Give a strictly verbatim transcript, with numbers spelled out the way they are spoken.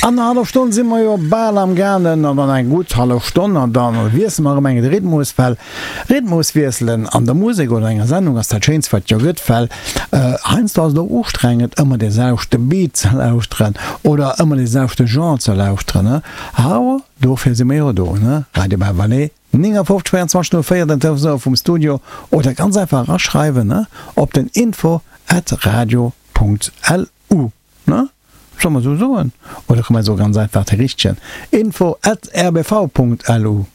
An der hallef Stonn si mer jo bal am gaangen, an dann eng gutt hallef Stonn, an da wiessele mer erëm eng de Rhythmus, well Rhythmus wiesselen an der Musek oder enger Sendung ass dat Schéinst wat jo gëtt, well heiansdo ass et och ustrengend ëmmer dee selwechte Beat ze lauschteren oder ëmmer dee selwechte Genre ze lauschteren, awer dofir si mer jo do, ne? Radio Bas-Valais, néngafofzeg véierundzwanzeg null véier, den Telefonsnummer vum Studio, oder ganz einfach eraschreiwen, ne, op den info at radio Punkt lu, ne? Solle mer esou soen? Oder komm mer soe ganz einfach de richtegen, info at rbv Punkt lu.